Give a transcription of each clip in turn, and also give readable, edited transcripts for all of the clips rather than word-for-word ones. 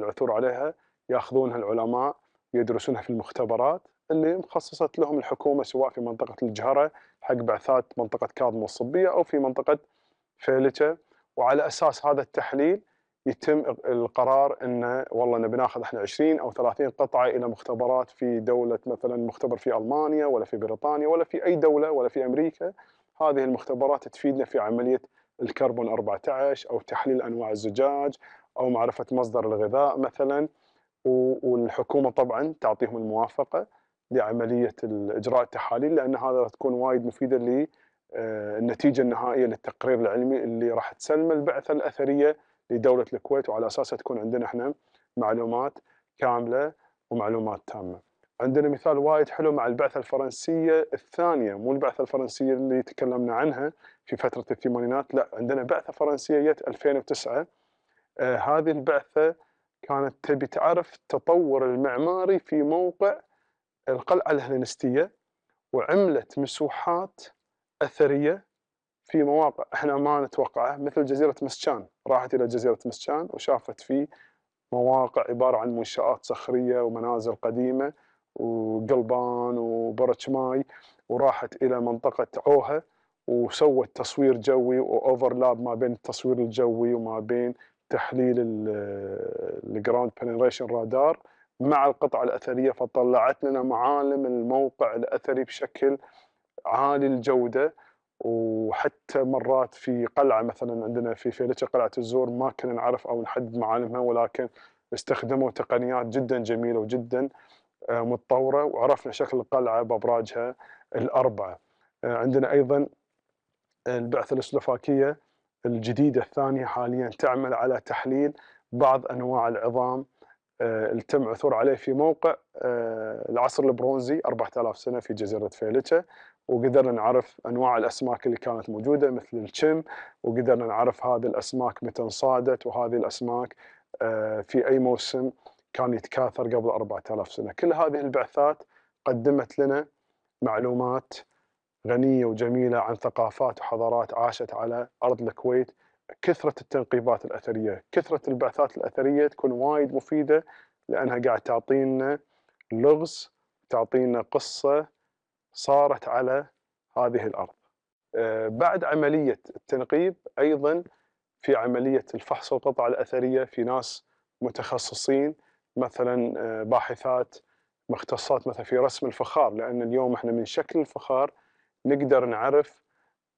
العثور عليها ياخذونها العلماء يدرسونها في المختبرات اللي مخصصت لهم الحكومة، سواء في منطقة الجهرة حق بعثات منطقة كاظم والصبية أو في منطقة فيلتة، وعلى أساس هذا التحليل يتم القرار انه والله نبي ناخذ احنا 20 او 30 قطعه الى مختبرات في دوله، مثلا مختبر في المانيا ولا في بريطانيا ولا في اي دوله ولا في امريكا. هذه المختبرات تفيدنا في عمليه الكربون 14 او تحليل انواع الزجاج او معرفه مصدر الغذاء مثلا، والحكومه طبعا تعطيهم الموافقه لعمليه اجراء التحاليل، لان هذا تكون وايد مفيده للنتيجه النهائيه للتقرير العلمي اللي راح تسلم البعثه الاثريه لدولة الكويت، وعلى أساسها تكون عندنا احنا معلومات كاملة ومعلومات تامة. عندنا مثال وايد حلو مع البعثة الفرنسية الثانية، مو البعثة الفرنسية اللي تكلمنا عنها في فترة الثمانينات، لا عندنا بعثة فرنسية جت 2009. هذه البعثة كانت تبي تعرف التطور المعماري في موقع القلعة الهلينستية، وعملت مسوحات أثرية في مواقع احنا ما نتوقعها، مثل جزيرة مسكان. راحت إلى جزيرة مسكان وشافت فيه مواقع عبارة عن منشآت صخرية ومنازل قديمة وقلبان وبرج ماي، وراحت إلى منطقة عوهة وسوت تصوير جوي وأوفرلاب ما بين التصوير الجوي وما بين تحليل الجراوند بنتريشن رادار مع القطعة الأثرية، فطلعت لنا معالم الموقع الأثري بشكل عالي الجودة. وحتى مرات في قلعة مثلا عندنا في فيلتة قلعة الزور ما كنا نعرف أو نحدد معالمها، ولكن استخدموا تقنيات جدا جميلة وجدا متطورة وعرفنا شكل القلعة بأبراجها الأربعة. عندنا أيضا البعثة السلوفاكية الجديدة الثانية حاليا تعمل على تحليل بعض أنواع العظام اللي تم عثور عليه في موقع العصر البرونزي 4000 سنة في جزيرة فيلتة، وقدرنا نعرف أنواع الأسماك اللي كانت موجودة مثل الشم، وقدرنا نعرف هذه الأسماك متى انصادت، وهذه الأسماك في أي موسم كان يتكاثر قبل 4000 سنة. كل هذه البعثات قدمت لنا معلومات غنية وجميلة عن ثقافات وحضارات عاشت على أرض الكويت. كثرة التنقيبات الأثرية، كثرة البعثات الأثرية تكون وايد مفيدة، لأنها قاعد تعطينا لغز، تعطينا قصة صارت على هذه الأرض. بعد عملية التنقيب أيضا في عملية الفحص القطع الأثرية في ناس متخصصين، مثلا باحثات مختصات مثلا في رسم الفخار، لأن اليوم احنا من شكل الفخار نقدر نعرف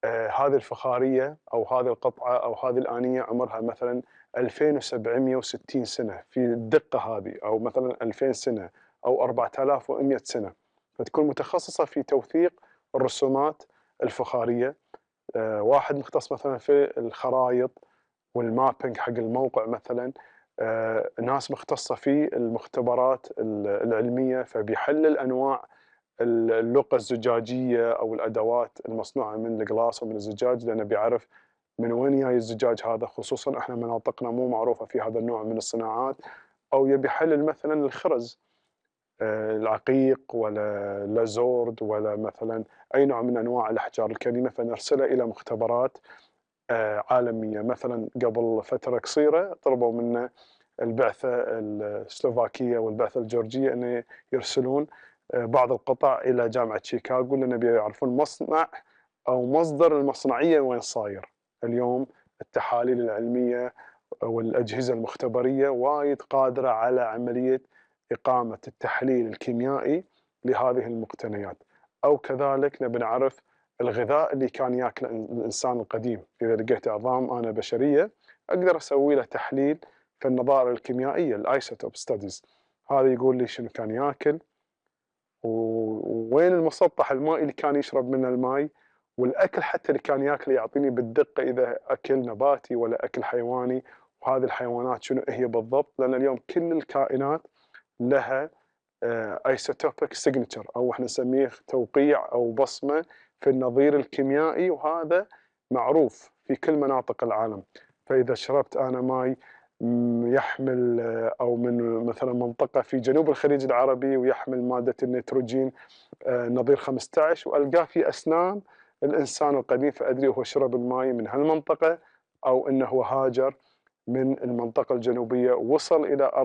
هذه الفخارية أو هذه القطعة أو هذه الآنية عمرها مثلا 2760 سنة في الدقة هذه، أو مثلا 2000 سنة أو 4100 سنة، فتكون متخصصة في توثيق الرسومات الفخارية. واحد مختص مثلا في الخرائط والمابينج حق الموقع مثلا، ناس مختصة في المختبرات العلمية فبيحلل أنواع اللقة الزجاجية أو الأدوات المصنوعة من الجلاس ومن الزجاج، لأنه بيعرف من وين جاي الزجاج هذا، خصوصا احنا مناطقنا مو معروفة في هذا النوع من الصناعات. أو يبي يحلل مثلا الخرز العقيق ولا لازورد ولا مثلا أي نوع من أنواع الأحجار الكريمة، فنرسله إلى مختبرات عالمية. مثلا قبل فترة قصيرة طلبوا منا البعثة السلوفاكية والبعثة الجورجية أن يرسلون بعض القطع إلى جامعة شيكاغو، لأن بيعرفون مصنع أو مصدر المصنعية وين صاير. اليوم التحاليل العلمية والأجهزة المختبرية وايد قادرة على عملية إقامة التحليل الكيميائي لهذه المقتنيات. أو كذلك نبي نعرف الغذاء اللي كان ياكله الإنسان القديم، إذا لقيت عظام أنا بشرية أقدر أسوي له تحليل في النظائر الكيميائية الآيسوتوب ستاديز، هذا يقول لي شنو كان ياكل ووين المسطح المائي اللي كان يشرب منه الماء، والأكل حتى اللي كان ياكله يعطيني بالدقة إذا أكل نباتي ولا أكل حيواني، وهذه الحيوانات شنو هي بالضبط، لأن اليوم كل الكائنات لها ايسوتوبيك سيجنتشر أو احنا نسميه توقيع أو بصمة في النظير الكيميائي، وهذا معروف في كل مناطق العالم. فإذا شربت أنا ماي يحمل أو من مثلا منطقة في جنوب الخليج العربي ويحمل مادة النيتروجين نظير 15 وألقاه في أسنان الإنسان القديم، فأدري هو شرب الماء من هالمنطقة أو أنه هو هاجر من المنطقة الجنوبية ووصل إلى أرض